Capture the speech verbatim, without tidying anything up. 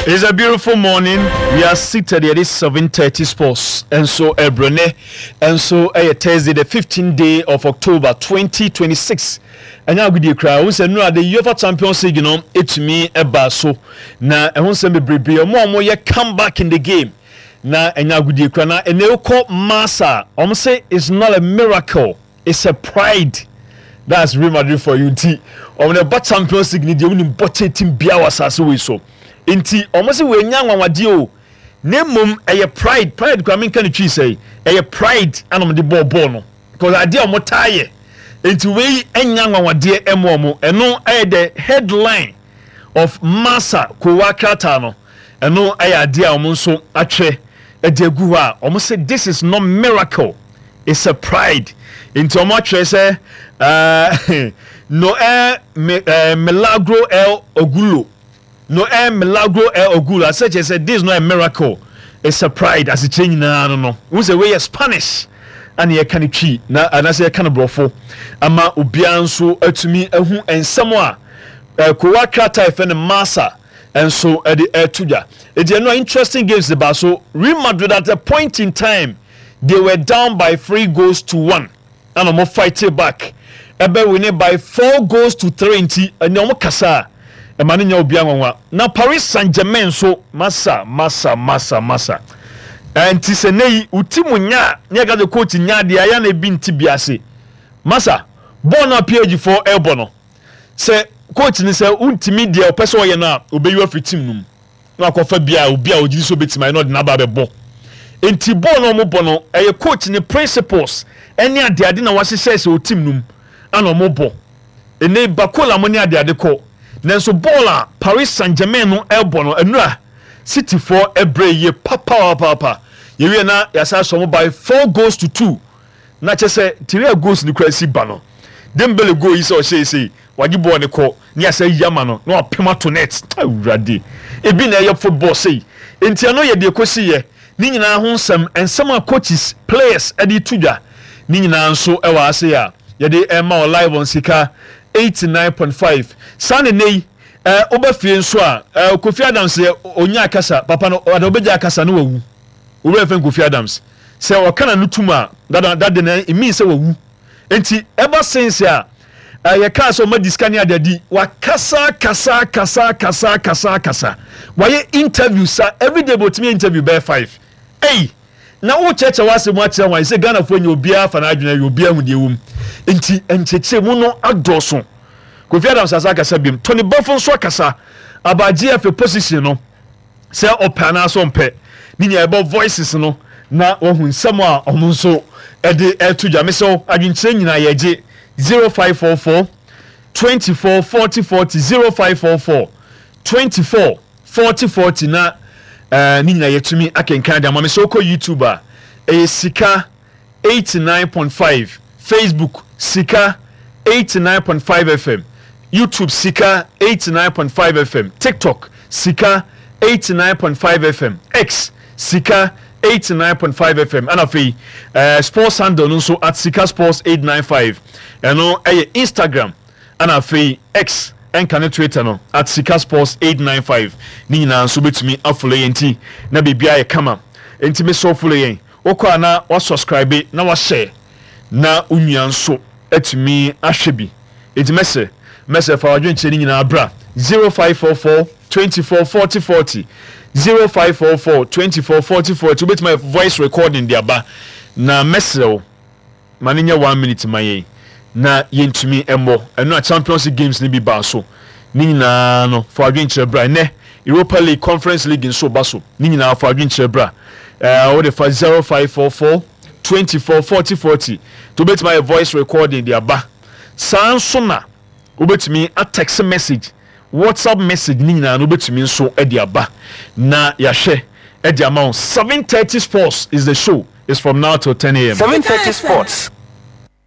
It's a beautiful morning. We are seated here. This seven thirty Sports. And so, Ebrene. And so, uh, Thursday, the fifteenth day of October twenty twenty-six. Ɛnyɛ agodie koraa wo sɛ nnura de UEFA Champions League no ɛtumi ɛba so na ɛho nsɛm bebrebe. Ɔmo a ɔmo come back in the game na ɛnyɛ agodie koraa. Na ɛnɛ wokɔ Marca, ɔmo sɛ it's not a miracle, it's a pride. That's Real Madrid for you. Nti ɔmo na ɛba Champions League ni deɛ, wonim bɔkyɛ team bia wɔ asase wei so. Nti ɔmo sɛ wɔanya nwanwadeɛ o, na mmom ɛyɛ pride. Pride kora menka ne twi sɛ ɛyɛ pride ana ɔmo de bɔɔ bɔɔl no, because adeɛ a ɔmo taa yɛ. Nti wei ɛnya nwanwadeɛ ɛmo ɔmo. Ɛno ɛyɛ the headline of Marca kowa krataa no. Ɛno ɛyɛ adeɛ a ɔmo nso atwerɛ ɛde agu hɔ a ɔmo sɛ this is not miracle, it's a pride. Nti ɔmo atwerɛ sɛ ɛɛ no ɛ ɛɛ milagro el orgullo, no ɛ milagro el orgullo asɛ kyerɛ sɛ this is not a miracle, it's a pride. Asekyerɛ nyinaa no no n sɛ wei yɛ Spanish ana yɛka no Twi na anaasɛ yɛka no Borɔfo ama obiara nso atumi ahu nsɛm a ɛɛ kowa krataa yɛfɛ no Marca nso ɛde ɛto dwa. Eti ɛno a interesting games de ba so. Real Madrid, at a point in time they were down by three goals to one ɛna wɔn fight back ɛbɛ win by four goals to three. Nti ɛnna wɔn kasa a ɛma ne nya obi anwanwa. Na Paris Saint Germain nso, masa masa masa masa, ɛnti sɛ ne yi wuti mu nya ne yɛ ka sɛ coach nya adeɛ ayɛ na ebi nti bi ase. Masa, bɔɔl no a P S G foɔ ɛrebɔ no, sɛ coach ni sɛ wuntumi deɛ ɔpɛ sɛ ɔyɛ no a, obeyi afiri team no mu na akɔfa bia obi a ogyina so obetumi ayɛ na ɔde n'aba abɛbɔ. Nti bɔɔl no a wɔn bɔ no, ɛyɛ coach ne principles ɛne adeade na wahyehyɛ sɛ o team no mu ana wɔn bɔ. Ɛnɛ Barcola mo ne adeade kɔ, nanso bɔɔl a Paris Saint Germain no ɛrebɔ no, ɛnura City foɔ ɛbrɛ yie papaapapa. Yɛwie na yɛasa asɔ mo by four goals to two. Na kyɛ sɛ tiri goals ni kura si ba no, Dembele goal yi sɛ ɔhyɛ ese wagye bɔɔl ne kɔ ne yasa yi ama no na wapem ato net. Awurade, ebi na ɛyɛ football sei. Nti ɛno yɛ deɛ kɔsi yɛ ne nyinaa ho nsɛm, nsɛm a coaches, players ɛde to dwa ne nyinaa nso ɛwɔ ase a yɛde ɛma wɔ live on Sika eighty-nine point five. Saa ne ne yi ɛɛ woba fie nso a, ɛɛ Kofi Adams yɛ onya akasa papa no, ɔde ɔbɛgya akasa no wawu. Owurɛ fɛn Kofi Adams sɛ ɔka na no tum a dada dada na emi sɛ wawu. Nti ɛba sense a ɛyɛ kaa sɛ ɔma di sika ne adadi, wakasa kasa kasa kasa kasa kasa, wayɛ interview sa everyday bɛ otumi interview bɛyɛ five. Ɛyi na wokyerɛkyerɛ w'asɛm akyerɛ wɔn sɛ Ghanafoɔ nyɛ obiara fa n'adwene yɛ obiara hu deɛ wɔ mu. Nti nkyɛkyerɛ mu no adɔɔso. Kofi Adams asa akasa biom, Tony Bafo nso akasa aba G F A position no sɛ ɔpɛ anaasɛ ɔmpɛ ne nyinaa. Ɛbɔ voices no na wɔhu nsɛm a ɔmo nso ɛde ɛto dwa. Mesɛw, adwenkyerɛ nyinaa yɛgye zero five four four twenty-four forty forty, zero five four four twenty-four forty forty, na ɛɛ ne nyinaa yɛtumi akenkan de ama. Mesɛ wokɔ YouTube a, ɛyɛ Sika eighty-nine point five, Facebook Sika eighty-nine point five F M, YouTube Sika eighty-nine point five F M, TikTok Sika eighty-nine point five F M, X Sika eighty-nine point five F M. Ɛna afei uh, sports handle no nso at Sika Sports eight nine five. Ɛno ɛyɛ Instagram, ɛna afei X ɛnka ne Twitter no at Sika Sports eight nine five. Ne nyinaa nso bɛtumi afollow yɛn. Nti na biribiara yɛ kama. Nti mesɛ follow yɛn, wokɔ a na wasubscribe na wahyɛ na onua nso atumi ahwɛ bi. Nti mɛsɛ mɛsɛ fa wadwenkyerɛ no nyinaa bra zero five four four twenty-four forty forty, zero five four four twenty-four forty forty. Wobɛtumi ayɛ voice recording de aba na mɛsrɛ wo ma no nyɛ one minute ma yɛn na yɛntumi mmɔ. Ɛno a Champions League games no bi baa so ne nyinaa no, fa adwenkyerɛ bra. Ɛnɛ Europa League, Conference League nso ba so. Ne nyinaa fa adwenkyerɛ bra. ɛɛ wode fa zero five four four twenty-four forty forty to wobɛtumi ayɛ voice recording de aba. Saa nso na wobɛtumi a text message, WhatsApp message ne nyinaa no wobɛtumi nso de aba na yɛahwɛ de ama wo. seven thirty Sports is the show, is from now till ten a m seven thirty Sports.